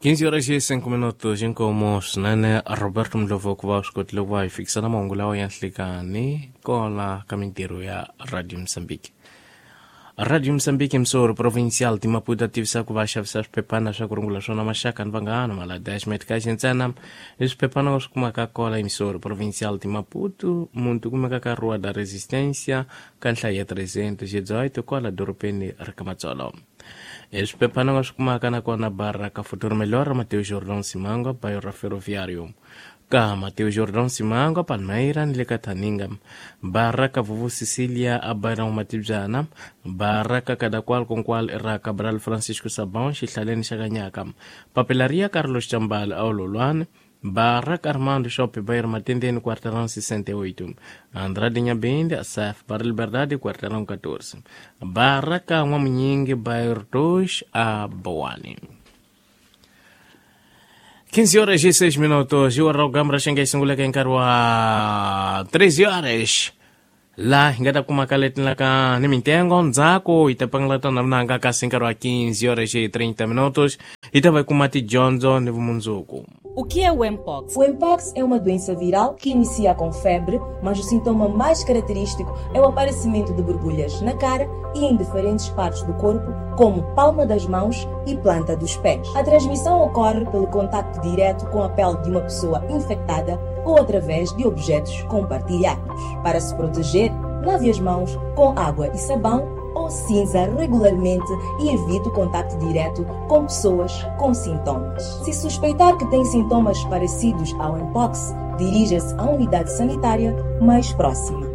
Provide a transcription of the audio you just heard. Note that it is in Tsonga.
15 horas e 5 minutos inkomo swinene Roberto Ndlovu ku va swi kotile ku va hi fikisa na mahungu lawa ya nhlikani kola ka mintirho ya Radio Mozambique. Radio Mozambique Msoro Provincial ti Maputo tivisa ku va xavisa swiphephana swa ku rungula swona maxaka ni vanghana malada ya ximetikaxi ntsena i swiphephana swi kumaka kola eMsoro Provincial ti Maputo muntu kumeka ka Rua da Resistência ka nhlayo ya 318 kwala dorobeni ra ka Matsolo. I swiphephana nga swi kumaka nakona bara ka Futuro Melhor Mateus Jordão Simango bairro ra Ferroviário ka Mateus Jordão Simango Palmeira ni le ka Thaninga barra ka Vuvu Cecilia a Bairro Matibyana barra ka Kadakwal Konkwal ra Cabral Francisco Sabão xihlaleni xa Kanyaka Papelaria Carlos Chambala a Ololwane barra ka Armando Shop Bairro Matendeni quarteirão 68 Andrade Nhabende Saf Barra Liberdade quarteirão 14 barra ka N'wamunyingi Bairro 2 a Boane. 15 horas e 6 minutos. E o Gamra xinga sunguleke nkarhi wa 13 horas. La hi nga ta kuma ka leti ka ni mintengo ndzhaku hi ta pangela tona vunanga kasi nkarhi wa 15 horas e 30 minutos hi ta va hi kuma tidyondzo ni vumundzuku. O que é o Mpox? O Mpox é uma doença viral que inicia com febre, mas o sintoma mais característico é o aparecimento de borbulhas na cara e em diferentes partes do corpo, como palma das mãos e planta dos pés. A transmissão ocorre pelo contacto direto com a pele de uma pessoa infectada ou através de objetos compartilhados. Para se proteger, lave as mãos com água e sabão ou cinza regularmente e evite o contacto direto com pessoas com sintomas. Se suspeitar que tem sintomas parecidos ao Mpox, dirija-se à unidade sanitária mais próxima.